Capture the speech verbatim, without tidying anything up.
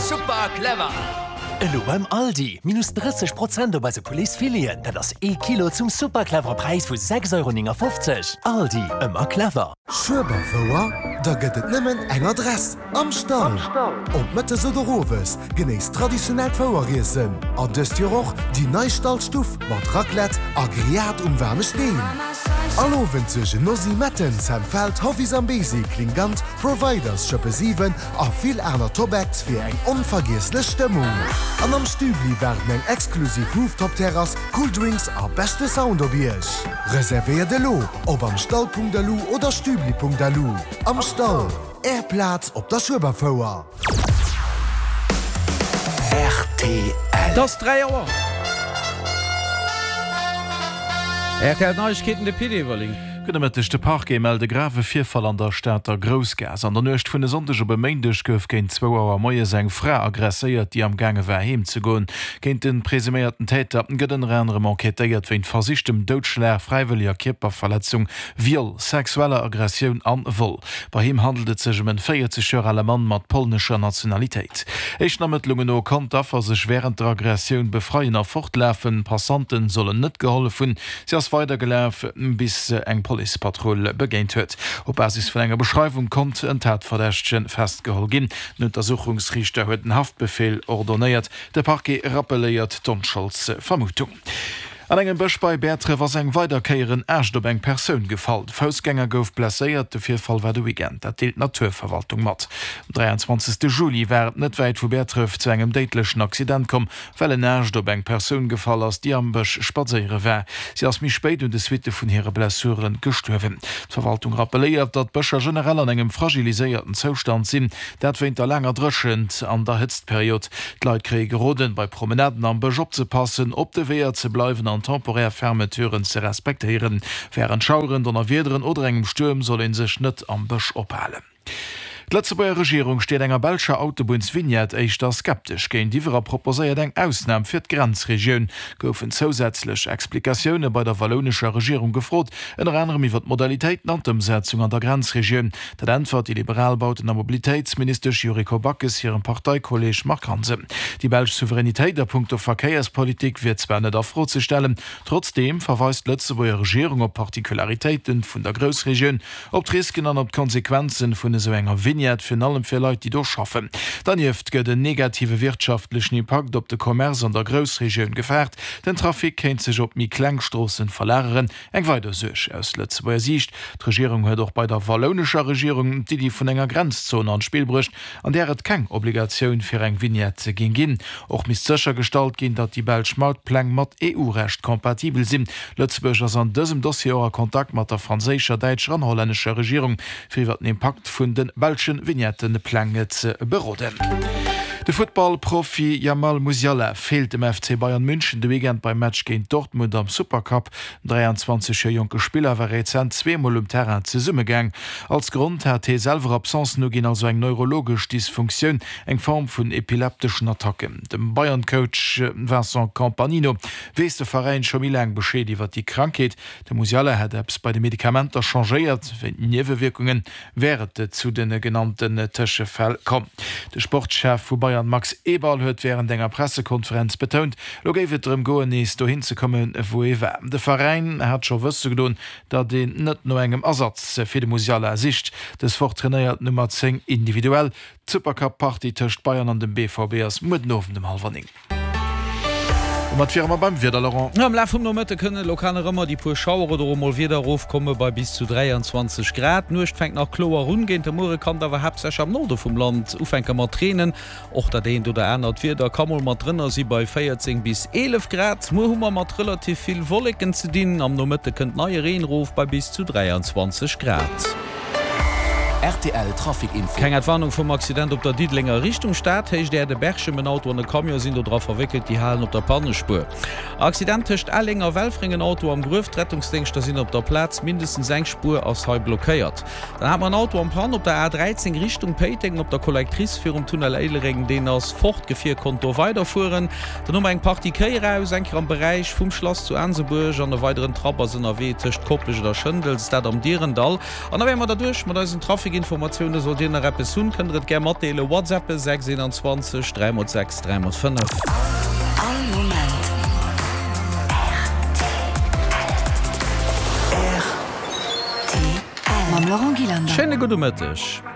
Super clever! Elo beim Aldi, minus drësseg Prozent op eise Pouletsfileten, dat ass ee Kilo zum super clevere Präis vu sechs Euro néngafofzeg. Aldi, ëmmer clever! Schueberfouer? Da gëtt et nëmmen eng Adress, Am Stall! Ob mëttes oder owes, genéisst traditionellt Foueriessen an dëst Joer och déi nei Stallstuff mat Raclette a Grillade um waarme Steen. All Owend suergen Nosy Metten, Sam Feld, Hoffy Zambezi, Klingant, Providers, Schëppe siwen a vill aner Top-Acts fir eng onvergiesslech Stëmmung. An am Stübli waarden eng exklusiv Rooftop-Terrass, cool Drinks a beschte Sound op Iech. Reservéiert elo op amstall Punkt lu oder stübli Punkt lu. Am Stall, Är Plaz op der Schueberfouer. Rtl. Et ass dräi Auer. R T L Neiegkeeten, de Pit Everling. Gudde Mëtteg, De Parquet mellt e grave Virfall an der Stater Groussgaass. An der Nuecht vun e Sonndeg op e Méindeg gouf géint zwou Auer moies eng Fra aggresséiert, déi am gaange war heem ze goen. Géint de presuméierten Täter gëtt ënner anerem enquêtéiert wéint versichtem Doudschlag, fräiwëlleger Kierperverletzung, Viol, sexueller Aggressioun an Vol. Bei him handelt et sech ëm en véierzeg Joer ale Mann mat polnescher Nationalitéit. Éischten Ermëttlungen no konnt d'Affer sech wärend der Aggressioun befreien a fortlafen. Passanten sollen net gehollef hunn. Si ass weidergelaf, bis se eng Policepatrull begéint huet. Op Basis vun enger Beschreiwung konnt en Tatverdächtege festgeholl ginn. Den Untersuchungsriichter huet en Haftbefeel ordonéiert. De Parquet rappelléiert d'Onscholdsvermutung. An engem Bësch bei Bäertref ass eng weider Kéier en Aascht op eng Persoun gefall. De Foussgänger gouf blesséiert. De Virfall war de Weekend, dat deelt d'Naturverwaltung mat. Um dräianzwanzegste Juli war et net wäit vu Bäertref zu engem déidlechen Accident komm, well en Aascht op eng Persoun gefall ass, déi am Bësch spadséiere war. Si ass méi spéit un de Suitte vun hire Blessure gestuerwen. D'Verwaltung rappelléiert, datt d'Bëscher generell an engem fragiliséierten Zoustand sinn, dat wéint der laanger Dréchent an der Hëtztperiod. D'Leit kréie geroden, bei Promenaden am Bësch opzepassen, op de Weeër ze bleiwen an temporär Fermeturen ze respektéieren. Wärend Schaueren, Donnerwiederen oder engem Stuerm soll ee sech net am Bësch ophalen. D'Lëtzebuerger Regierung steet enger belscher Autobunnsvignette éischter skeptesch géintiwwer a proposéiert eng Ausnam fir d'Grenzregioun. Goufen zousätzlech Explikatioune bei der wallounescher Regierung gefrot, ënner anerem iwwer d'Modalitéiten an d'Ëmsetzung an der Grenzregioun. Dat äntwert déi liberal Bauten a Mobilitéitsministesch Yuriko Backes hirem Parteikolleeg Marc Hansen. Déi belsch Souveränitéit a punkto Verkéierspolitik wier zwar net a Fro ze stellen, trotzdeem verweist d'Lëtzebuerger Regierung op d'Particularitéite vun der Groussregioun. Op d'Risken an op d'Konsequenzen vun esou enger Vignette, virun allem fir Leit, déi do schaffen. Dernieft gëtt en negative wirtschaftlechen Impakt op de Commerce an der Groussregioun gefaart. Den Trafic kéint sech op méi kleng Stroossen verlageren. Eng weider Suerg aus Lëtzebuerger Siicht, D'Regierung huet och bei der wallounescher Regierung d'Iddi vun enger Grenzzon an d'Spill bruecht, an där et keng Obligatioun fir eng Vignette géing ginn. Och misst séchergestallt ginn, datt déi belsch Mautpläng mat E U-Recht kompatibel sinn. Lëtzebuerg ass an dësem Dossier och a Kontakt mat der franséischer, däitscher an hollännescher Regierung, fir iwwer den Impakt vun de belsche Vignettepläng ze beroden. De Futtballprofi Jamal Musiala feelt dem F C Bayern München de Weekend beim Match géint Dortmund am Supercup. Den dräianzwanzeg Joer jonke Spiller war rezent zweemol um Terrain zesummegaang. Als Grond hat hie selwer Absencen uginn, also eng neurologesch Dysfunktioun, eng Form vun epilepteschen Attacken. Dem Bayern-Coach Vincent Kompany no weess de Veräin scho méi laang Bescheed iwwer déi Krankheet. De Musiala hätt eppes bei de Medikamenter changéiert, wéint Niewewierkunge wär et zu de genannten Tëschefäll komm. De Sportschef vu Bayern Max Eberl huet wärend enger Pressekonferenz betount, elo géif et drëm goen, nees dohin ze kommen, wou ee war. De Veräin hat scho wësse gedoen, datt een net no engem Ersatz fir de Musiala sicht. Dës Woch trainéiert d'Nummer zéng individuell. D'Supercup-Partie tëscht Bayern an dem B V B ass muer den Owend um hallwer néng. Domat wiere mer beim Wieder, Laurent. Am Laf vum Nomëtte kënne lokal nach ëmmer déi puer Schauer oder och mol Wieder erofkomme bei bis zu dräianzwanzeg Grad. D'Nuecht fänkt nach kloer un, géint de Muere kann et awer haaptsächlech am Norde vum Land ufänke mat reenen. Och dat eent oder anert Wieder ka mol mat drënner si bei véierzéng bis eelef Grad. Muer hu mer mat relativ vill Wolleken ze dinn, am Nomëtte kënnt neie Reen erof bei bis zu dräianzwanzeg Grad. R T L Trafic Info. Keng Entwarnung vum Accident op der Diddelenger Richtung Stad, Héicht Äerde Berchem. En Auto an e Camion sinn do dra verwéckelt, déi halen op der Pannespuer. Accident tëscht Elleng a Welfréng, en Auto am Gruef, d'Rettungsdéngschter sinn op der Plaz, mindestens eng Spuer ass hei blockéiert. Dann hat mer en Auto en panne op der A dräizéng Richtung Péiteng op der Collectrice virum Tunnel Éilereng, deen ass fort, d'Gefier konnt do weiderfueren. Dann hu mer eng Partie Kéi eraus, eng Kéier am Beräich vum Schlass zu Aansebuerg an e weideren Trapp ass ënnerwee tëscht Koplescht a Schëndels, dat am Direndall. An da wäre mer derduerch mat eisen Trafic. Trafikinformatioune sollt Dir nach eppes hunn, kënnt der et gär matdeelen. WhatsAppe sechs eenanzwanzeg dräi mol sechs dräi mol fënnef. All Moment rtl. Mam Laurent Gillander. Schéine gudde Mëtteg.